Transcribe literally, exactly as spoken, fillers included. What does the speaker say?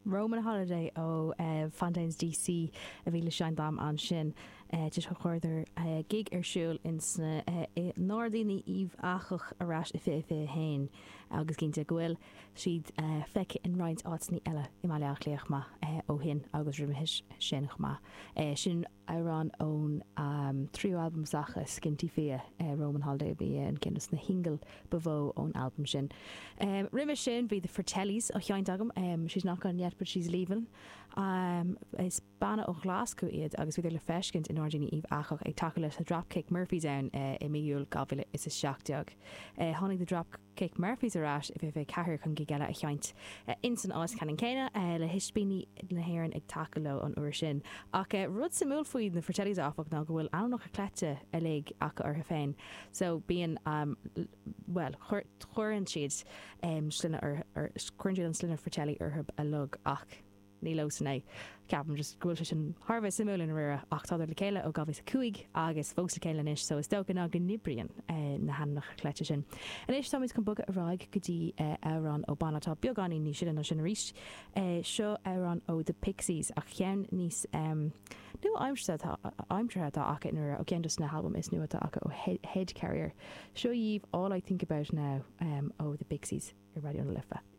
Roman Holiday ó Fontaines DC a bhí le seinnt dom ansin chuireadar gig ar siúl in sna i nGairdíní Uíbh Eachach ar ais i fiche fiche haon agus cinnte go bhfuil siad feicthe in roinnt áiteanna eile i mBaile Átha Cliath chomh maith ó shin agus roimhe sin chomh maith. Sin amhrán ón tríú albam s'acu Skinty Fia Roman Holiday a bhí an ceann de na singil ba mhó ón albam sin. Roimhe sin bhí The Fratellis á sheinnt agam she's not gone yet but she's leaving. Um, is banna ó Ghlaschú iad agus bhíodar le feiscint i nGairdíní Uíbh Eachach ag tacú leis na Dropkick Murphys ann uh, i mí Iúil dhá mhíle is a seacht déag. Uh, tháinig the Dropkick Murphys ar ais i fiche ceathair chun gig eile a sheinnt uh, in san áit ceannann céanna uh, le hispíní na hÉireann ag tacú leo an uair sin. Ach uh, rud suimiúil faoi na Fratellis áfach ná go bhfuil ainmneacha cleite uilig acu orthu féin. So bíonn um, well chuireann siad um, sloinne cuireann siad an sloinne Fratelli orthu uilig ach ní leo san é. Ceapaim just go bhfuil sé sin thar a bheith suimiúil i ndáiríre ach tá le chéile ó dhá mhíle cúig agus fós le chéile anois so is dócha ná go n-oibríonn eh, na hainmneacha cleite sin. Anois táimid chun bogadh ar aghaidh go dtí eh, amhrán ó banna atá beagáinín níos sine ná sin arís. Eh, seo amhrán ó The Pixies ach ceann níos um, nua aimseartha atá acu nuair ó ceann na halbaim is nua atá acu ó Head Carrier. Seo dhaoibh All I Think About Now um, ó The Pixies ar Raidió na Life.